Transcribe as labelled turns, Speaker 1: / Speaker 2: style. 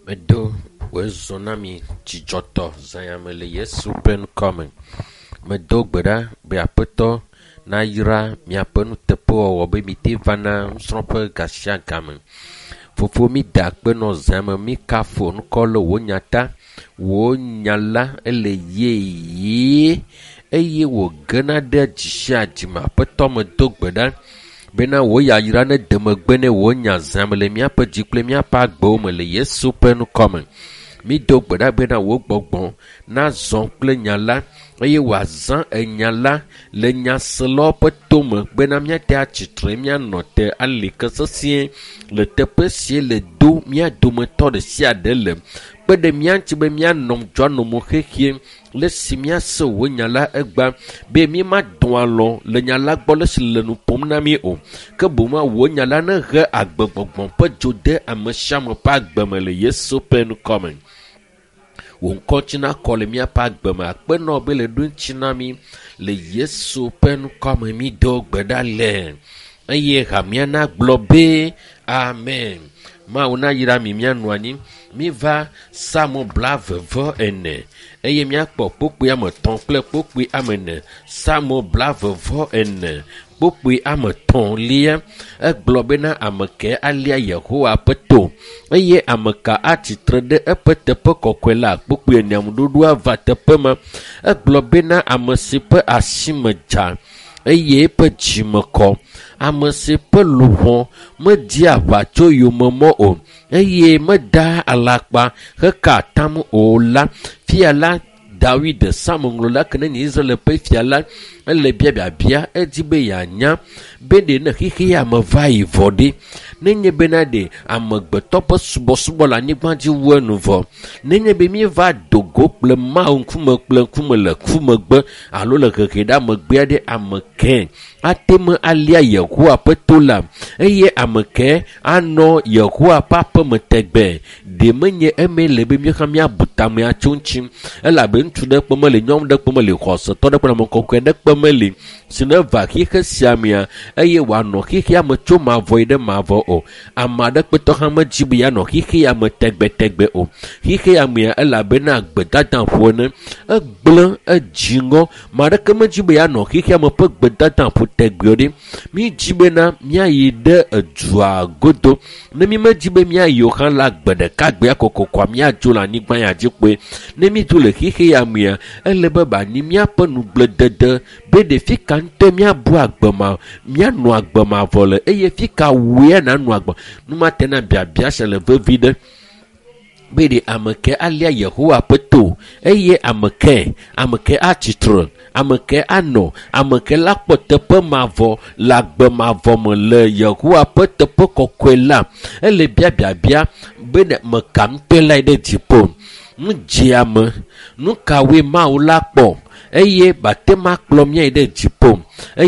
Speaker 1: Medo wòezɔ na mi dzidzɔtɔ zã ya me le Yesu ƒe ŋkɔ me. Medo gbe ɖa be Aƒetɔ nayra miaƒe nuteƒewɔwɔ be mite va na nusrɔ̃ƒe gasiagame. Fofo mi da akpe nɔ zã me mi kafu ŋkɔ le wò nya ta. Wò nya la ele yeye eye wògena ɖe dzi sia dzi me. Aƒetɔ medo gbe ɖa bena wò yayra ne de megbe ne wò nya zã me le míaƒe dzi kple míaƒe agbewo me le Yesu ƒe ŋkɔ me. Mído gbe ɖa bena wò gbɔgbɔ nazɔ kple nya la eye wòazã enya la le nyaselawo ƒe tome bena míate atsitre míanɔ te ali ke sesĩe le teƒe sie le do mía dometɔ ɖe sia ɖe le. Kpe ɖe mía ŋuti be míanɔ dzɔanomo xexie le si míase wò nya la egba be mímadɔ alɔ le nya la gbɔ le si le nu ƒom na mí o. Ke boŋ wò nya la nehe agbegbɔgbɔ ƒe dzo de ame sia ame ƒe agbe me le Yesu ƒe ŋkɔ me. Wò ŋkɔ ŋuti nakɔ le míaƒe agbe me. Akpe nɔ be le ɖo ŋuti na mí le Yesu ƒe ŋkɔ me mído gbe ɖa le. Eye hamea nagblɔ be amen. Mawu nayra mi míanɔ anyi. Míva Psalmo 44 eye míakpɔ kpukpui 3 kple kpukpui 4. Psalmo 44 kpukpui 3 egblɔ bena ame ke alia Yehowa ƒe to eye ame ka atsitre ɖe eƒe teƒe kɔkɔe la. Kpukpui 4 ŋuɖoɖoa va teƒe ma. Egblɔ bena ame si ƒe asi me dza eye eƒe dzime kɔ, ame si ƒe luʋɔ media aʋa tso yomemɔ o eye meda alakpa heka atam o la. Fia la Dawid Psalmoŋlɔla ke ne nye Israel ƒe fia la, ele biabiabia edi be yeanya be ɖe ne xexea me va yi vɔ ɖe. Nenye bena ɖe amegbetɔ ƒe subɔsubɔ le anyigba dzi wu enu vɔ. Nenye be míeva do go kple Mawu ŋkume kple ŋkume le ku megbe alo le hehe ɖe amegbea ɖe ame ke ate ŋu alia Yehowa ƒe to la eye ame ke anɔ Yehowa ƒe aƒeme tegbe. Ɖe menye eme le be míaxa míabu tame atso ŋuti elabe ŋutsu ɖe kpe meli, nyɔnu ɖe kpe meli, xɔsetɔ ɖe kpe ame kɔkɔe ɖe kpe meli si ne va xixe sia mea eye wòanɔ xixea me tso mavɔ yi ɖe mavɔ o. Ame aɖe kpetɔ hã medzi be yeanɔ xixea me tegbetegbe o. Xixea mea elabena gbedada ƒo ene egblẽ edzi ŋɔ. Ame aɖeke medzi be yeanɔ xixea me ƒe gbedada ƒo tegbe o ɖe. Mídzi bena míayi ɖe edua godo. Ne mímedzi be míayi o hã la gbe ɖeka gbea kokokoa míadzo le anyigba ya dzi kpoe. Ne mídzo le xixea mea ele be banyi míaƒe nugbledede be ɖe fi ka ŋutɔ míabu agbe ma míanɔ agbe mavɔ le eye fi ka wòe nanɔ agbe. Numate na biabia sia le vevi ɖe be ɖe ame ke alia Yehowa ƒe to eye ame ke atsitre, ame ke anɔ, ame ke la kpɔ teƒe mavɔ le agbe mavɔ me le Yehowa ƒe teƒe kɔkɔe la. Ele biabiabia be ɖe meka ŋutɔe lae ɖe dziƒo. Nu dziame, nu kawoe Mawu la kpɔ eye bate ma kplɔ míayi ɖe dziƒo.